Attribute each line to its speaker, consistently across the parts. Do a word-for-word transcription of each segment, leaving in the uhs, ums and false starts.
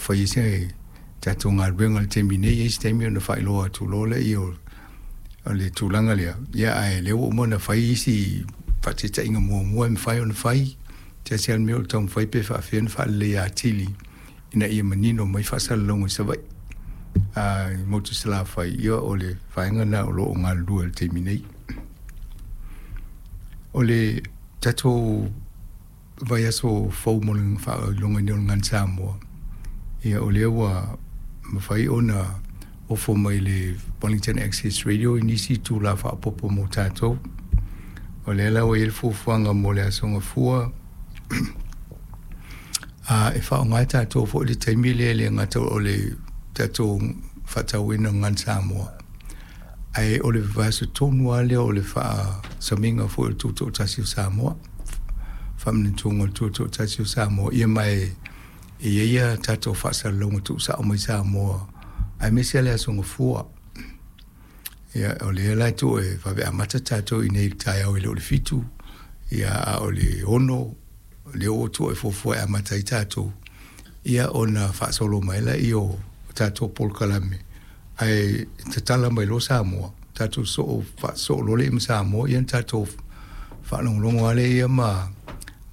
Speaker 1: fai ai se tatou galuega i le taimi nei. E i ai se taimi ona faailoa atu loa lea o o le tulaga lea. Ia ae lea ua uma ona fai isi faataitaiga muamua e mafai ona fai. Tasi lava le mea o le taumafai pe faafefea ona faaleleia atili ina ia manino mai faasalalauga i Savaii a i motu i Salafai. Ia o le vaega lena o lo o galulue i le taimi nei. O le tatou vaiaso fou mo le faailogaina o le Gagana Samoa, ia o lea ua mafai ona ofo mai le Wellington Access Radio i nisi itula faaopoopo mo tatou. O lea la ua i ai le fuafuaga mo le Aso Gafua a e faaaoga e tatou foi le taimi lea e le gata o le tatou faatauaina o le Gagana Samoa, ae o le vaiaso tonu lava lea o le faasamiga foi o le Tutoatasi o Samoa, faamanatuga o le Tutoatasi o Samoa. Ia ma e i ai a tatou faasalalauga tuusao mai Samoa, aemaise le Aso Gafua. Ia o lea la e tuu e vave amata tatou i inei i le taeao e le o le fitu, ia a o le ono lea ua tuu e fuafua e amata ai tatou, ia ona faasolo mai lea o tatou polokalame, ae tatala mai loa Samoa, tatou soo faasoo loa lea ma Samoa, ia ona tatou faalogologo lava lea ma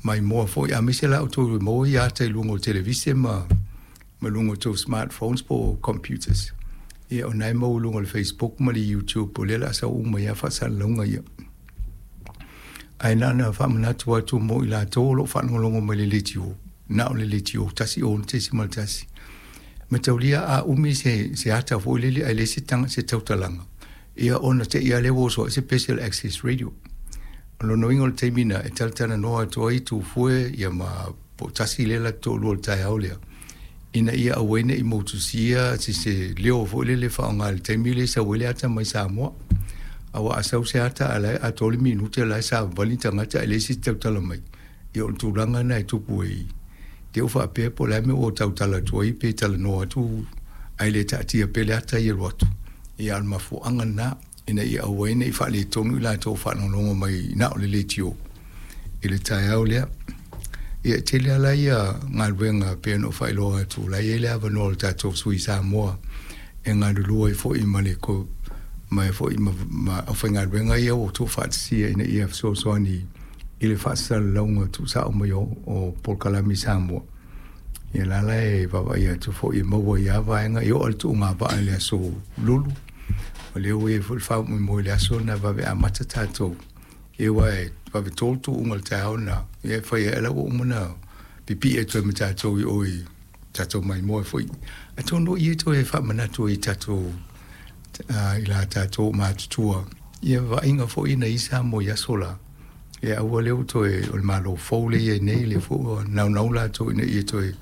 Speaker 1: maimoa foi, aemaise la outou e maua ia ata i luga o televise ma ma luga o tou smartphones po o computers. Ia o lena e maua i luga o le Facebook ma le YouTube, o lea o le a sau uma ai lava faasalalauga ia. Ae na ona faamanatu atu mo i latou o lo o faalogologo mai i le leitio, na o le leitio one oh six point one. Mataulia a umi se, se ata foi lele ae leai se, tanga, se tautalaga, ia ona te i lava lea ua oso ai se pese o le Access Radio. O lona uiga o le taimi na e talatalanoa atu ai Tufue ia ma po tasi lea la toalua o le taeao lea, ina ia aua ai ne i motusia se, se leo foi lele faaaoga i le taimi lea e sau ai le ata mai Samoa. Aua a sau se ata a la e atoa le minute la e savavali tagata ae leai se isi tautala mai. Ia o le tulaga lena e tupu ai. Te u faapea po o le a le mea ua tautala atu ai pe talanoa atu ae le taatia pea le ata ia alu atu. Ia a o le mafuaaga lena ina ia aua ai ne i faaletonu i latou faalogologo mai na o le leitio i le taeao lea. Ia e tele lava ia galuega pei ona ou faailoa atu, la e i ai le avanoa o le tatou sui Samoa e galulue ai foi ma le ma foi ma, ma aufaigaluega ia ua tuufaatasia ina ia fesoasoani i le faasalalauga tuusao mai o, o polokalame i Samoa. Ia la la e vaavaai atu foi e maua ai lava vaega e oo i le tuugavaa i le aso Lulu. O lea ua i ai foi le faamoemoe i le aso lena vave amata tatou. Ia aua e vave tolu tuuga o le taeao na, ia e fai ai la ua uma ona pipii atu ai ma tatou i o i tatou maimoa foi. Atonu ia toe faamanatu ai i tatou uh, i la tatou matutua ia vaaiga foi na i Samoa i aso la. Ia aua lea ua toe o le Malo fou lea i ai nei, lea foi ua naunau latou ina ia toe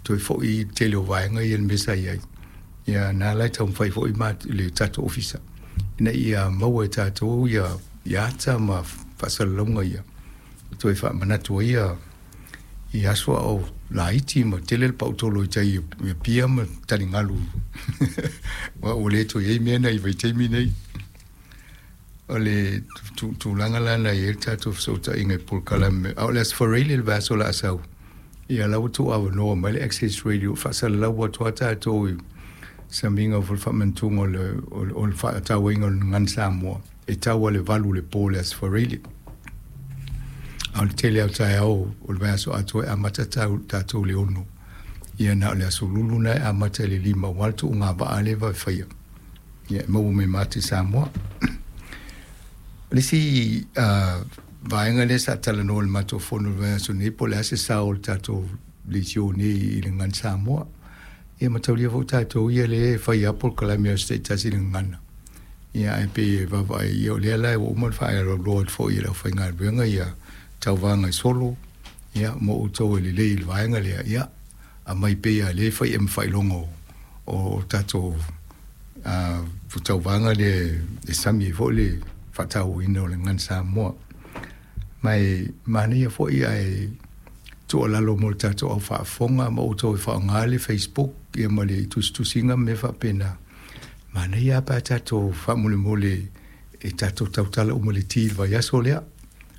Speaker 1: toe foi i le tele o vaega ia i le mea sa i ai. Ia na la e taumafai foi ma le tatou ofisa ina ia maua e tatou ia, ia ata ma faasalalauga ia toe faamanatu ai ia i aso a o laiti ma tele le pautolo i tai i Apia ma taligalu. Ua ua le toe i ai mea na i vaitaimi nei. O le tulaga la na i ai le tatou fesootaiga i polokalame. A o le Aso Faraile le vaiaso o le a sau, ia la ua tuuavanoa mai le Access Radio faasalalau atu lava tatou i samiga o le faamanatuga o le, o le, o le faatauaina o le Gagana Samoa e tau lava i le valu o le po i le Aso Faraile. A o le tele lava o taeao o le vaiaso atoa e amata tatou i le ono. Ia na o le Aso Lulu lena e amata i le lima aua le tuugavaa lea e vave faia. Ia e maua mai ma ata i Samoa. O le isi uh, vaega lea sa talanoa i le matou fono i le vaiaso nei, po o le a se sao o le tatou leitio nei i le Gagana Samoa. Ia mataulia foi tatou ia lea e fai lava polokalame a se taitasi i le gagana. Ia ae pei e vaavaai, ia o lea la ua uma ona faaaloaloa atu foi i le aufaigaluega ia tauvaga i solo, ia mo outou e lelei i le vaega lea, ia aumai pea lea e fai ai ma faailoga o, o tatou uh, tauvaga lea e sami ai foi le faatauaina o le Gagana Samoa. Ma e manaia foi ae tuualalo mo le tatou au faafofoga ma outou e faaaoga le Facebook ia ma le tusitusiga ma mea faapena. Manaia lava pe a tatou faamolemole e tatou tautala uma i le ti i le vaiaso lea.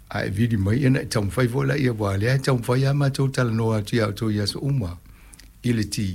Speaker 1: A e vili mai ia na e taumafai foi laia, aua o lea e taumafai lava matou talanoa atu ia outou i aso uma i le ti.